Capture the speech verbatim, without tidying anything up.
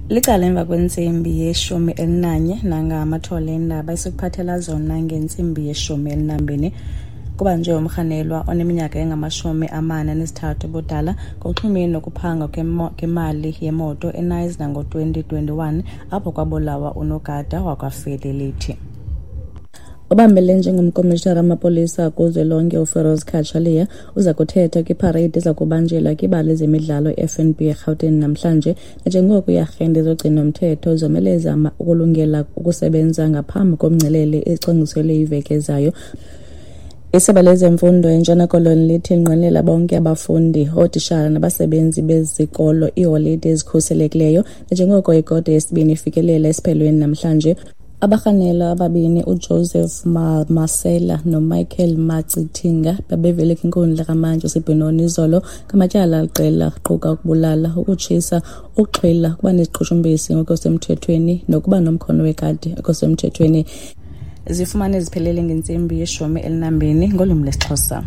Licala emva kwentsimbi yeshumi elinanye nangamathole eendaba esikuphathela zona ngentsimbi yeshumi elinambini. Kubanjwe umrhanelwa oneminyaka engamashumi amane anesithathu ubudala ngokuxhumene nokuphangwa kwemali yemoto eKnysna ngo-twenty twenty-one apho kwabulawa unogada wakwaFidelity. Obambele njengomkomishinara wamapolisa kuzwelonke uFiroz Cachalia uza kuthetha kwiparade eza kubanjelwa kwibala lezemidlalo i-F N B eRhawutini namhlanje, nanjengoko iiarhente zogcino-mthetho zomeleza ukulungela ukusebenza ngaphambi komngcelele ecwangciselwe iveki ezayo. Isebe lezemfundo eNtshona Koloni lithi linqwenela bonke abafundi, ootitshala nabasebenzi bezikolo iiholide ezikhuselekileyo nanjengoko ikota yesibini ifikelela esiphelweni namhlanje. Abarhanelwa ababini uJoseph Masela noMichael Macithinga babevele kwinkundla kamantyi yaseBenoni izolo ngamatyala aliqela aquka ukubulala, ukutshisa, ukuxhwila, ukuba neziqhushumbisi ngokusemthethweni nokuba nomkhono wekati ngokusemthethweni. Zifumane ziphelele ngentsimbi yeshumi elinambini ngolwimi lwesiXhosa.